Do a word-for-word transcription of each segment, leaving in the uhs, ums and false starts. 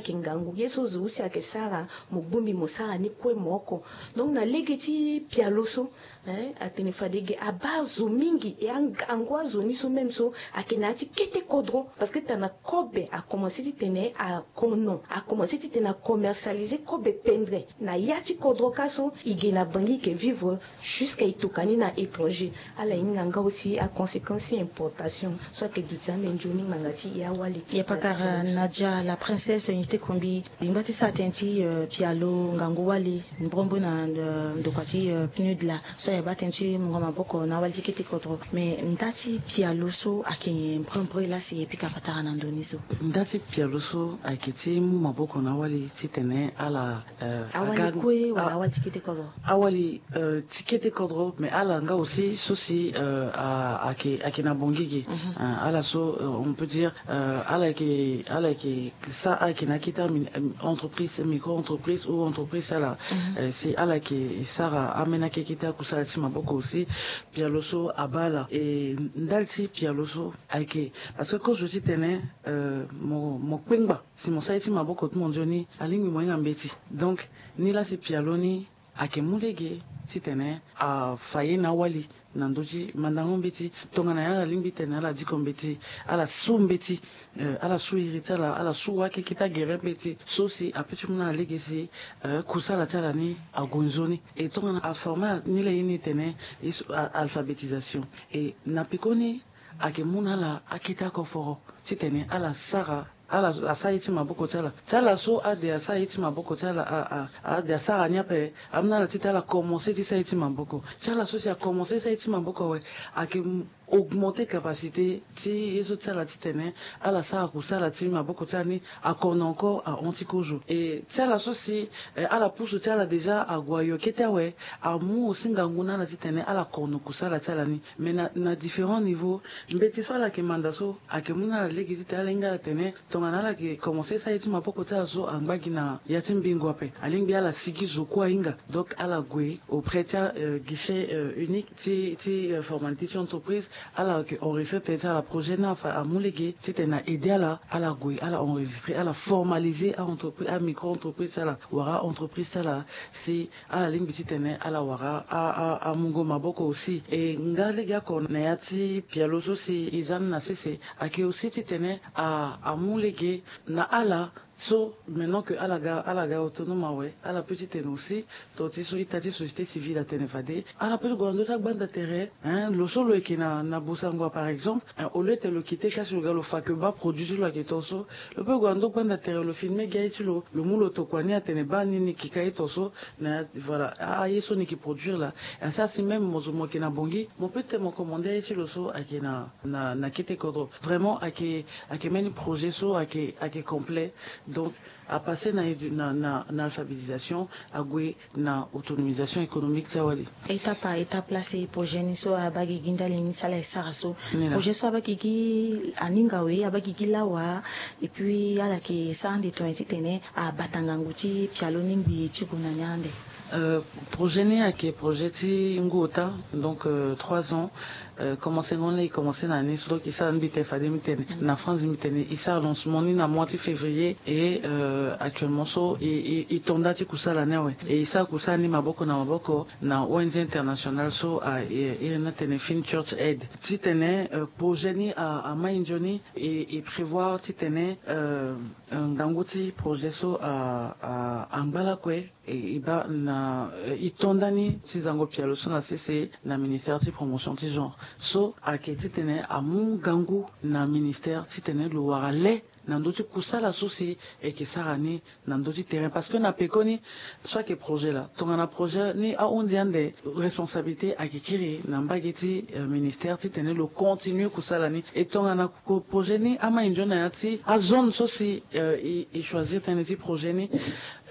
ayeke ngangu. Ye so zo aussi ayeke sara, mo bongbi mo sara ni kue mo oko. Donc na lege ti pialo so, hein, atene fade ge abaa zo mingi. E angangu azo ni so même so ayeke na ya ti kete kodro, parce que tana kobe akomanse titene akono, akomanse titene acommercialiser kobe pendre na ya ti kodro ka so. E ge na bangi e ke vivre jusqu'à e tokua ni na étranger. Ala hinga nga aussi aconséquence ti importation so ayeke duti ande nzoni ngbanga ti e awali. Ya pakara Nadia la princesse, nyen ti kombi lingba ti sara tënë ti, euh, pialo ngangu wali mbrombo na, euh, ndokua ti, euh, PNUD laa, so ayeke baa tënë ti mungo maboko na awali ti kete kodro. Mais nda ti pialo so ayeke nyen mbrombo laa si e pika patara na ndö ni so? Nda ti pialo so ayeke ti mu maboko na awali titene ala, euh, awali aga- kue wala a- awali ti kete kodro? Awali, euh, ti kete kodro, mais ala nga aussi so si, euh, a- ayeke, ayeke na bongi ge. Mhm. Euh, ala so, euh, on peut dire, euh, ala yeke, ala yeke sa, ala yeke na akete ami- entreprise, micro entreprise ou entreprise ala. Mhm. Euh, si ala yeke sara ambeni akekete akusala ti maboko aussi, pialo so abaa ala. E ndali ti pialo so ayeke, parce que kozo titene, euh, mo, mo kpengba si mo sara ye ti maboko ti mo nzoni, alingbi mo hinga mbeti. Donc ni laa si pialo ni ayeke mu lege titene afa ye na awali na ndö ti mandango mbeti. Tongana nyen ala lingbi titene ala diko mbeti, ala su mbeti, euh, ala su iri ti ala, ala su akekete agere mbeti so si apeut ti mu na ala lege si, euh, kusala ti ala ni ague nzoni. E tongana aforme ala ni laa ye ni tene ye so, a- alphabétisation. E na pekoni ayeke mu na ala akete akoforo titene ala sara, ala asara ye ti maboko ti ala. Ti ala so ade asara ye ti maboko ti ala, a- a- ade asara ni ape, amu na ala titene ala komanse ti sara ye ti maboko. Ti ala so si akomanse ti sara ye ti maboko awe, ayeke m- augmenter capacité ti ye so ti ala titene ala sara kusala ti maboko ti ala ni akono encore ahon ti kozo. E ti ala so si, eh, ala pusu ti ala déjà ague ayo kete awe, amu aussi ngangu na ala titene ala kono kusala ti ala ni. Mais na, na différents niveaux, mbeti so ala yeke manda so ayeke mu na ala lege titene ala hinga ala tene tongana ala yeke komanse sara ye ti maboko ti ala so angba gi na ya ti mbingo ape, alingbi ala sigi zo kue ahinga. Donc ala gue auprès ti, euh, guichet, euh, unique ti, ti, euh, formalité ti entreprise, ala yeke enregistrer tënë ti ala. Projet ni afa amu lege titene na aider ala, ala gue ala enregistrer, ala formaliser a-entreprise, amicro entreprise ti ala wala a-entreprise ti ala, si ala lingbi titene ala wara a- a- amungo maboko aussi. E nga lege oko na ya ti pialo so si e za ni na sese ayeke aussi titene a- amu lege na ala so, maintenant que ala ga, ala ga autonome awe, ala peut titene aussi to ti so ita ti société civile atene fade ala peut ti gue na ndö ti agbanda tere, hein, lo so lo yeke na, na bosango par exemple, hein, au lieu tene lo quitté ka si lo ga lo fa ke baa produit ti lo ayeke to so, lo peut gue na ndö gbanda tere lo filmer gi aye ti lo, lo mu lo tokua ni atene baa ni ni yeke ka ye to so, na, voilà, a- aye so ni yeke produire laa. Asi asi même mo zo mo yeke na bongi, mo peut titene mo commander aye ti lo so ayeke na, na, na kete kodro. Vraiment ayeke, ayeke mbeni projet so ayeke, ayeke complet. Donc apasse na, na, na, na alphabétisation, ague na autonomisation économique ti awali. Étape par étape laa si projet ni so abaa gigi ndali ni si ala ye sara so. Projet so abaa gigi aninga we, abaa gigi lawa, et puis ala yeke sara ande tonga titene abata ngangu ti pialo ni ngbii ti gue na ni ande. Euh, projet ni ayeke projet ti ngu ota, donc, euh, trois ans. Euh, commencé ngon laa e commencé na ni so, donc e sara ni mbi tene fade mbi tene na France, mbi tene e sara lancement ni na mois ti février. Et, euh, actuellement so e, e, e to nda ti kusala ni awe. E e sara kusala ni maboko na maboko na O N G internationale so a, e, e iri ni atene Fin Church Aid. Titene, euh, projet ni a, amai nzoni, e, e prévoir titene, euh, euh, ngangu ti projet so a, a, angba lakue. E, e baa na, e, e to nda ni ti zango pialo so na sese na ministère ti promotion ti genre. So ayeke titene amu ngangu na ministère titene lo wara le na ndö ti kusala so si e yeke sara ni na ndö ti terrain. Parce que na pekoni so ayeke projet laa, tongana projet ni ahunzi ande, responsabilité ayeke kiri na mbage ti, euh, ministère titene lo continuer kusala ni. E tongana ko projet ni amai nzoni na ya ti azone so si, euh, e, e choisir tënë ti projet ni,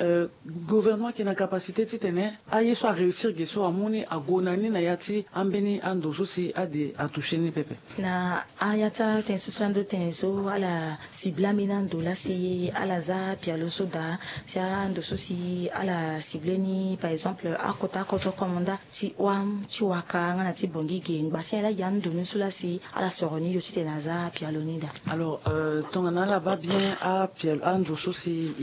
euh, gouvernement ayeke na capacité titene aye so aréussir ge so amu ni ague na ni na ya ti ambeni ando so si ade atoucher ni pepe. Na aya ti atënë so si ando tene so ala cible ambeni ando laa si ala za pialo so daa, si ando so si ala cible ni par exemple akota akodro komonda ti wam ti waka nga na ti bongi ge ngba si ala gi ando ni so laa si ala soro ni yo titene aza pialo ni daa. Alors, euh, tongana ala baa bien apialo ando so si